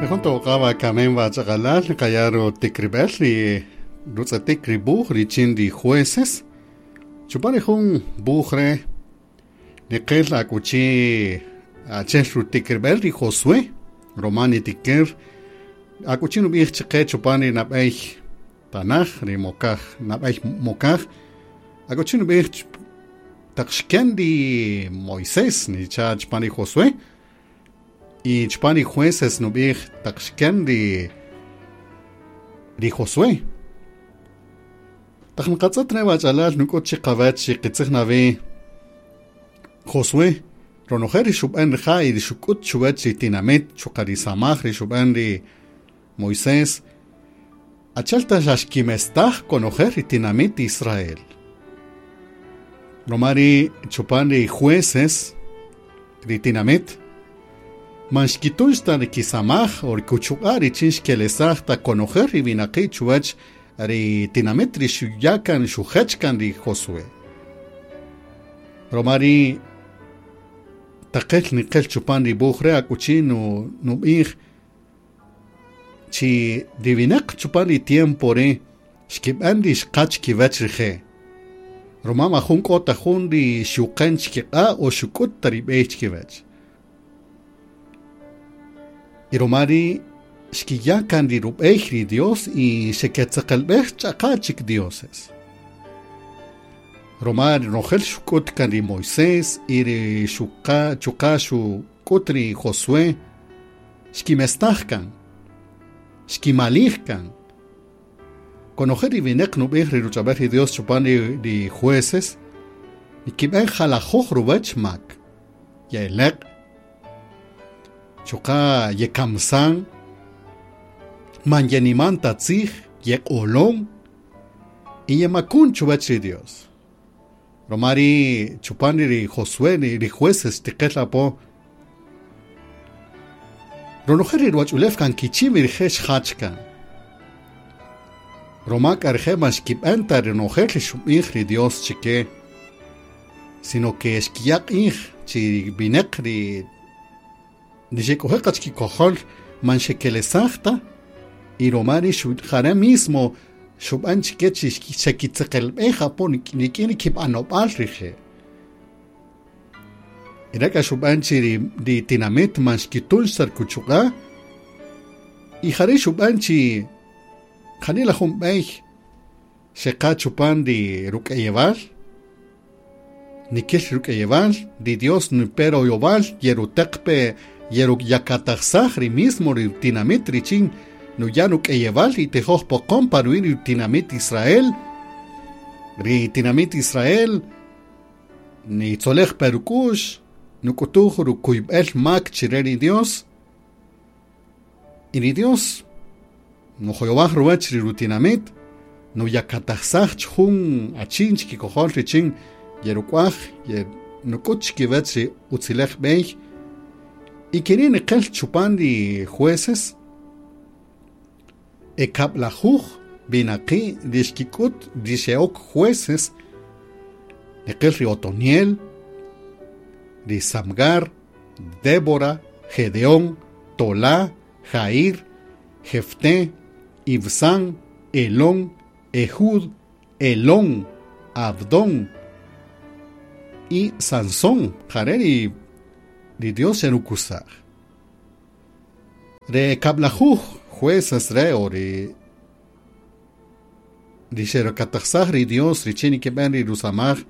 Rejun toqaba kamen bachaqalal kayaro tikribel ri rutzatik ri buj richin ri jueces. Chupan jun buj re niqel akuchi achel rutikribel ri Josué Romani tiker akuchi nub'ij chiqe chupan ri nab'ey tanaj ri mokaj nab'ey mokaj akuchi nub'ij taq xken ri Moisés nicha chupan ri Josué y chupan ri jueces nub'ij taq xken ri Josué. Taq nqatz'ët re wach'alal nuk'ut chiqawach qitzij nawi Josué ronojel ri xub'an rija' y ri xuk'ut chuwach ri tinamit chuqa' ri samaj ri xub'an ri Moisés achel ta xa xkimestaj konojel ri tinamit Israel. Roma ri chupan ri jueces ri tinamit man xkitun xta ri kisamaj o ri kuchuq'a' richin xkelesaj ta konojel ri winaqi' chuwach ri tinamit ri xuyakan xujechkan ri Josué. Roma ri taqel niqel chupan ri buj re akuchi nub'ij chi ri winaq chupan ri tiempo re xkib'an ri xqach kiwach rije'. Roma majun k'o ta jun ri xuqen chkiq'a' o xuk'ut ta ri b'ey chkiwach. Y roma ri xkiyakan ri rub'ey ri Dios y xeketzaqelb'ej ch'aqa chik dioses. Roma ronojel xuk'ut kan ri Moisés y ri xuqa chuqa xuk'ut ri Josué xkimestaj kan, xkimalij kan. Konojel ri winaq nub'ij ri ruch'ab'al ri Dios chupan ri jueces nikib'an jalajoj ruwach mak, ye'eleq', chuqa yekamsan, man yeniman ta tzij, yeq'olon y yemakun chuwach ri Dios. Roma ri chupan ri Josué ri jueces tiqel apo ronojel ri ruwach'ulew kan kichim rije' xjach kan. Roma k'a rije' man xkib'an ta ronojel ri xub'ij ri Dios chike, sino que xkiya' q'ij chi winaq ri xek'oje' qa chikikojol man xekelesaj ta y roma ri jare mismo xub'an chike chi xekitzeqelb'ej apo rik'in ri kib'anob'al rije'. Y re k'a xub'an chi ri tinamit man xkitun xta rikuchuq'a' y jare xub'an chi janila jun b'ey xeqa chupan ri ruk'ayewal nikil ruk'ayewal ri Dios nipe royowal yerutaqpe yeruyakatajsaj ri mismo ri tinamit richin nuya' ruk'ayewal y tejoj poqon pa ruwi' ri tinamit Israel. Ri tinamit Israel nitzolej pe ruk'u'x nuk'utuj rukuyb'el mak chire ri Dios y ri Dios nujoyowaj ruwach ri rutinamit nuyakatajsaj jun achin chikikojol richin yeruk'waj nuk'ut chikiwach ri utzilej b'ey y keri' niqel chupan ri jueces ekab'lajuj winaqi' ri xkik'ut ri xe'ok jueces niqel ri Otoniel, ri Samgar, Débora, Gedeón, Tolá, Jair, Jefté, Ibsán, Elón, Ehud, Elón, Abdón y Sansón. Jare ri Dios xerukusaj. Re kab'lajuj jueces re o ri xerukatajsaj ri Dios richin nikib'an ri rusamaj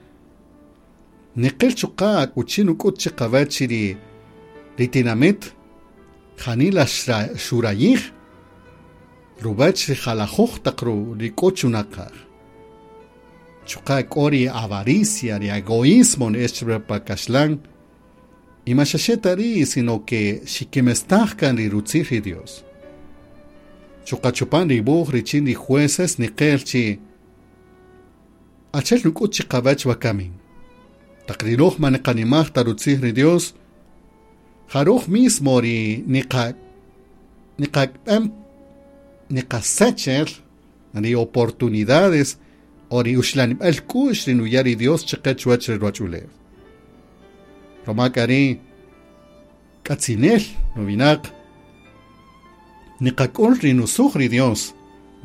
niqel chuqa' akuchi nuk'ut chiqawach ri tinamit janila xurayij ruwach ri jalajoj taq ri k'o chunaqaj. Chuqa' k'o ri avaricia, ri egoísmo ne'ex pa kaxlan y ma xaxe ta ri' sino que xikimestaj kan ri rutzij ri Dios. Chuqa' chupan ri buj richin ri jueces niqel chi achel nuk'ut chiqawach wakamin. Taq ri roj man niqanimaj ta rutzij ri Dios, jaruj mismo ri niqasechel ri oportunidades o ri uxlanib'al k'u'x ri nuya' ri Dios chiqe chuwach ri ruwach'ulew. Roma k'a ri k'atzinel nuwinaq Niqak'ul ri nusuj ri Dios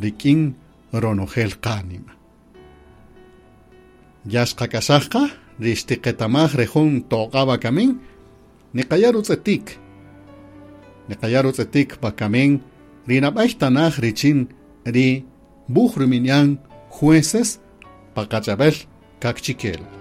rik'in ronojel qánima. Ya xqak'axaj ri xtiqetamaj re jun toq'a wakamin, niqaya' rutz'etik. Niqaya' rutz'etik wakamin ri nab'ay tanaj richin ri wuj rub'ini'an Jueces pa qach'ab'äl Kaqchikel.